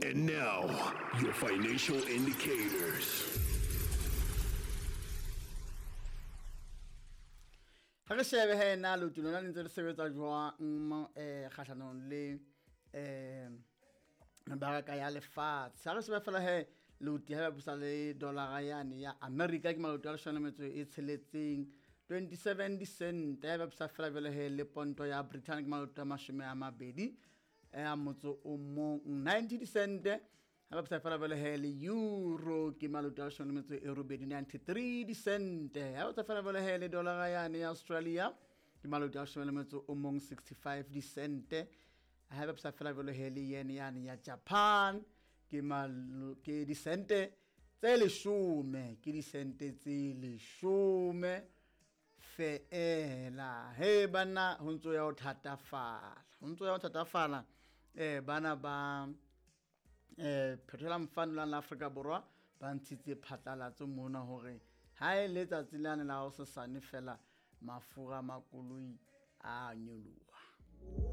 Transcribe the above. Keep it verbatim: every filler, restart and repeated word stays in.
And now, your financial indicators. Ha re shebe he na leoto lona le ntse le sebetsa jwang um kgahlanong le um mebaraka ya lefatshe. Ha re shebe fela he leoto ha ba busa le dollara yane ya America ke maloto a leshome le metso e tsheletseng twenty-seven dicent. Ha ba busa fela jwale he le ponto ya Britain ke maloto a mashome a mabedi a motso o mong ninety dicent. Ha ba busa fela jwale he le euro ke maloto a leshome le metso e robedi ninety-three dicent. Ha ba busa fela jwale he le dollara yane ya Australia ke maloto a leshome le metso o mong sixty-five dicent. Ha ba busa fela jwale he le yen yane ya Japan ke malo ke dicente tse leshome, ke dicente tse leshome feela. He bana ho ntso ya ho thatafala, ho ntso ya ho thatafala. Eh bana ba eh Petroleum Fund la Afrika Borwa ba ntshitse phatlalatso mona hore ha e le tsatsi lane la hosasane fela mafura a makoloi a nyoloha.